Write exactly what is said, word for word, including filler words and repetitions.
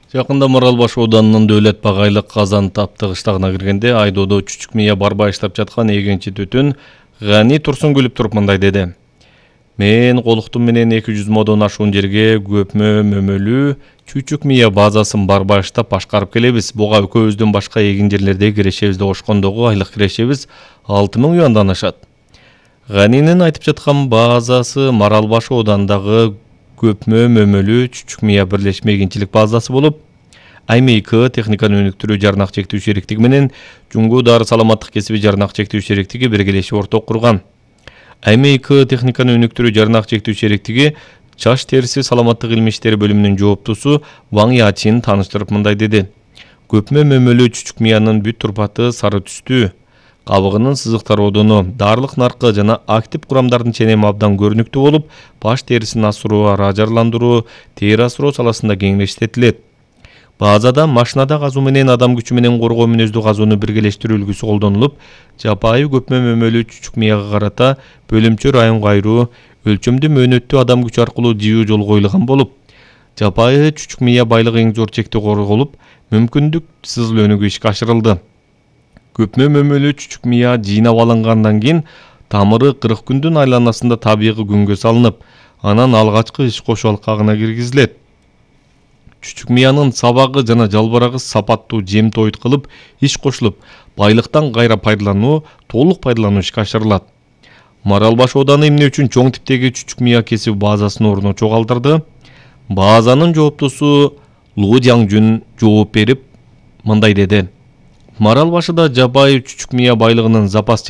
Жакында Маралбаш ауданынын Дөөлөт Багайлык Казан Тапты кыштагына киргенде айдоодо Чүчүк Мия барбай иштеп жаткан эгенчи түтүн Гани Турсунгүлов туруп мындай деди. Мен колуктум менен эки жүз модон ашуун жерге көпмө мөмөлүү Чүчүк Мия базасын барбай иштеп башкарып келебиз. Буга экөөбүздөн башка эгин жерлерде кирешебиз деп ошкондогу айлык кирешебиз алты миң юандан ашат. Ганинин айтып жаткан базасы Маралбаш ауданындагы көпмө мөмөлүү Чүчүк Мия бирлешме эгинчилик базасы болуп, АйМИК техниканы өнүктүрүү жарнак чектүү шериктиги менен Жуңгу Дары саламаттык кесиби жарнак чектүү шериктиги биргелешип орток курган. АйМИК техниканы өнүктүрүү жарнак чектүү шериктиги чач териси саламаттык илми иштери бөлүмүнүн жооптусу Ваң Ячин тааныштырып мындай деди. Көпмө мөмөлүү Чүчүк Миянын бүт турпаты сары түстүү, кабыгынын сызыктар одону, даарылык наркы жана актив курамдардын ченеми абдан көрүнүктүү болуп, баш терисин асыруу, ара ажарландыруу, тери асыроо саласында кең иштетилет. Базада машинада казуу менен адам күчү менен коргоо мүнөздүү казууну биргелештирүү үлгүсү колдонулуп, жапайы көпмө мөмөлүү Чүчүк Мияга карата бөлүмчө районго айыруу, өлчөмдүү мөөнөттүү адам күчү аркылуу жыйуу жолу коюлган болуп, жапайы Чүчүк Мия байлыгы эң зор чекте корголуп, мүмкүндүксүз өнүгүү ишке ашырылды. Көпмө мөмөлүү Чүчүк Мия жыйнап алынгандан кийин тамыры кырк күндүн айланасында табигый күнгө салынып, анан алгачкы иш кошуу алкагына киргизилет. Чүчүк Миянын сабагы жана жалбырагы сапаттуу жем тоют кылып, иш кошулуп, байлыктан кайра пайдалануу, толук пайдалануу ишке ашырылат. Маралбаш ауданы эмне үчүн чоң типтеги Чүчүк Мия кесип базасын орночо калтырды? Базанын жооптусу Лу Жаңжүн жооп берип мындай деди. Маралбашыда жапайы Чүчүк Мия байлыгынын запас